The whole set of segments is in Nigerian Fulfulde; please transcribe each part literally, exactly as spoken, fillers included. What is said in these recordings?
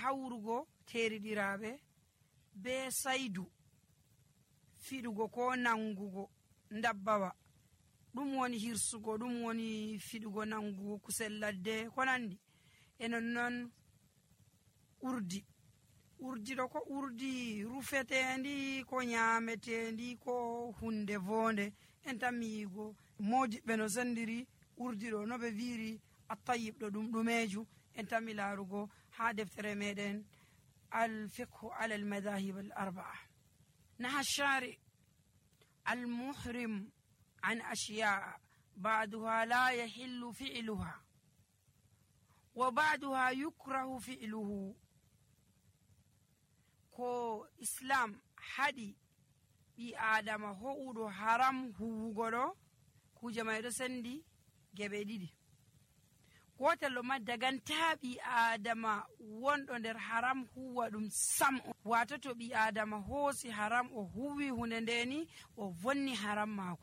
hawrugo teriɗiraɓe be saydu fiɗugo ko nangugo dabbawa, ɗum woni hirsugo, ɗum woni fiɗugo nangugo kusel ladde ko nandi e nonnon urdi. urdi ɗo ko urdi rufetendi ko nyametendi ko hunde vonde en tan mi yigo modiɓɓe no sendiri urdi ɗo no ɓe wiri attayib ɗo ɗum ɗumeju en tan mi larugo ha deftere meɗen alfiqhu ala almadahib al arbaa. naha shari almuhrim an ashiya ba'daha la yahillu fi'luha wa ba'daha yukrahu fi'luhu. ko islam haɗi ɓi adama ho'uɗo haram huwugo ɗo kuje may ɗo sendi geɓe ɗiɗi. gotel ɗo ma daganta ɓi adama wonɗo nder haram huwa ɗum sam. wato to ɓi adama hoosi haram o huwi hunde ndeni o vonni haram mako.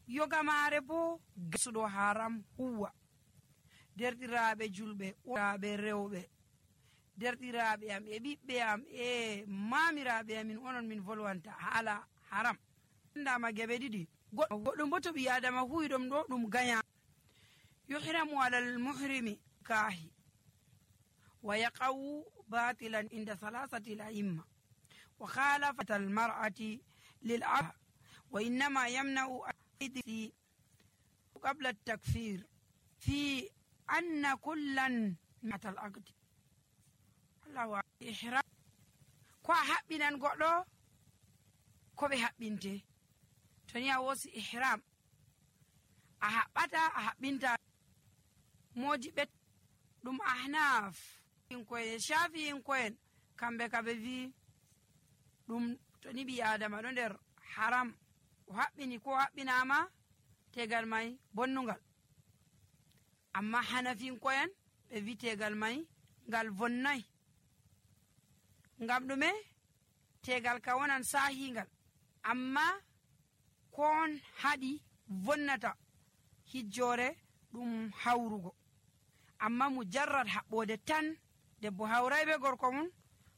yoga mare bo gasuɗo haram huwa. derɗiraɓe julɓe oraɓe rewɓe, derɗiraɓe am e ɓiɓɓe am e mamiraɓe amin onon min volwanta haala haram ndama geɓe ɗiɗi. goɗɗum bo to ɓi adama huwi ɗum ɗo ɗum gaya. yuhramu ala almuhrimi kahi wa yaqawu batilan inda salasati al-a'imma wa khalafat al-mar'ati lil-'abd wa innama yamna'u al-idhi qabla at-takfir fi anna kullan matal aqd. Allahu ihram ko a haɓɓinan goɗɗo ko ɓe haɓɓinte. to ni a wosi ihram a haɓɓata a haɓɓinta. modi ɓet ɗum ahnaf inkoyen shafi inkoyen kamɓe ka ɓe wi ɗum to ni ɓi adama ɗo nder haram o haɓɓini ko haɓɓinama tegal may bonnungal. amma hanafinkoyen ɓe wi tegal may ngal vonnay. ngam ɗume? tegal ka wonan sahingal amma kon haɗi vonnata hijjore ɗum hawrugo. amma mujarrad haɓɓode tan debbo hawray be gorko mum